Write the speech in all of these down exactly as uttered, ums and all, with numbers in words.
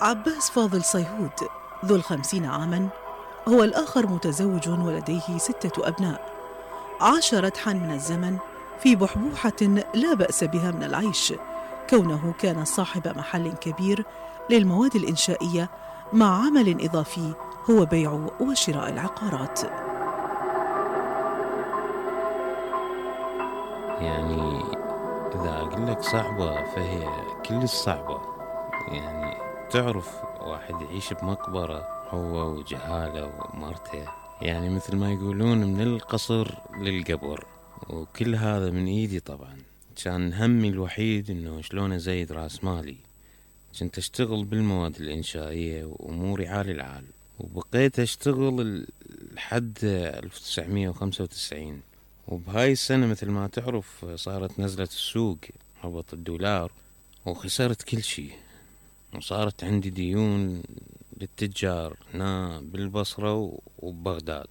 عباس فاضل صيهود ذو الخمسين عاماً هو الآخر متزوج ولديه ستة أبناء. عاش ردحاً من الزمن في بحبوحة لا بأس بها من العيش، كونه كان صاحب محل كبير للمواد الإنشائية مع عمل إضافي هو بيع وشراء العقارات. يعني إذا أقول لك صعبة فهي كل الصعبة. يعني تعرف واحد يعيش بمقبرة هو وجهاله ومرته، يعني مثل ما يقولون من القصر للقبر، وكل هذا من إيدي طبعا. كان همي الوحيد إنه شلون أزيد راس مالي. كنت أشتغل بالمواد الإنشائية وأموري عال العال، وبقيت أشتغل لحد ألف وتسعمية وخمسة وتسعين. وبهاي السنة مثل ما تعرف صارت نزلة السوق، هبط الدولار وخسرت كل شي، وصارت عندي ديون للتجار هنا بالبصرة وبغداد،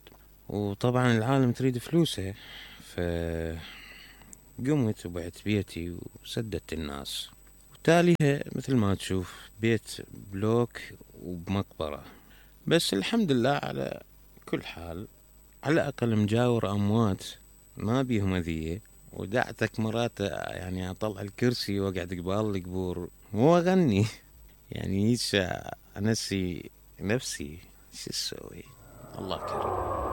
وطبعا العالم تريد فلوسه. فقمت وبعت بيتي وسددت الناس، وتاليها مثل ما تشوف بيت بلوك وبمقبرة. بس الحمد لله على كل حال، على الأقل مجاور أموات ما بيهم أذية، ودعتك مرات يعني أطلع الكرسي وأقعد قبال القبور وأغني. يعني هيش أنسي نفسي. شو اسوي؟ الله كريم.